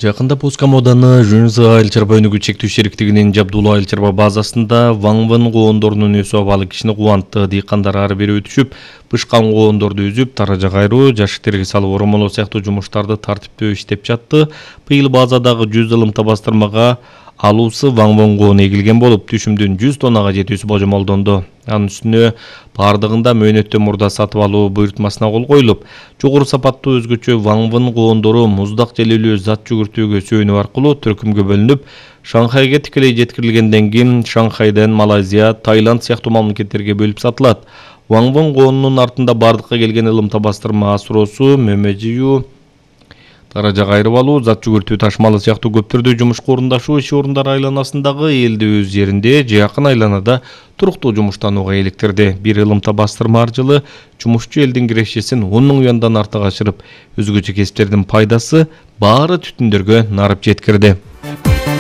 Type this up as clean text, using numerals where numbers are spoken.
Жакында Пускам ауданы Жөнсө айыл чарба өнүгүү чектүү шериктигинин Жабдулла айыл чарба базасында ваңвын коондорунун өсүп абалы кишини кубантты. Дыйкандар ары бери өтүшүп, бышкан коондорду үзүп, таража кайруу, жашыктерге салып оромолоо сыяктуу жумуштарды тартиптөө иштеп жатты. Быйыл базадагы 100 ылымта бастырмага алуусу ваңвын коonu эгилген болуп, түшүмдүн 100 тоннага жетүүсү божомолдонду. Анын үстүнө бардыгында мөөнөттөн мурда сатып алуу буйрутмасына кол коюлуп, жогору сапаттуу өзгөчө ваңвын коондору муздак желелүү зат жүгүртүүгө сүйөнүү аркылуу түркүмгө бөлүнүп, Шанхайга тикелей жеткирилгенден кийин Шанхайдан Малайзия, Таиланд сыяктуу мамлекеттерге бөлүп сатылат. Ваңвын коонунун артында бардыкка келген ылымта бастырма асыроосу, мөмө жыюу, таража кайрып алуу, зат жүгүртүү ташымалы сыяктуу көптөрдү жумушка орундашуу иш орундары айланасындагы элди өз жеринде же жакын айланада туруктуу жумуштанууга иликтирди. Бир ылымта бастырма аркылуу жумушчу элдин кирешесин 10 000 юандан артык ашырып, өзгөчө кесиптердин пайдасы баары түтүндөргө нарып жеткирди.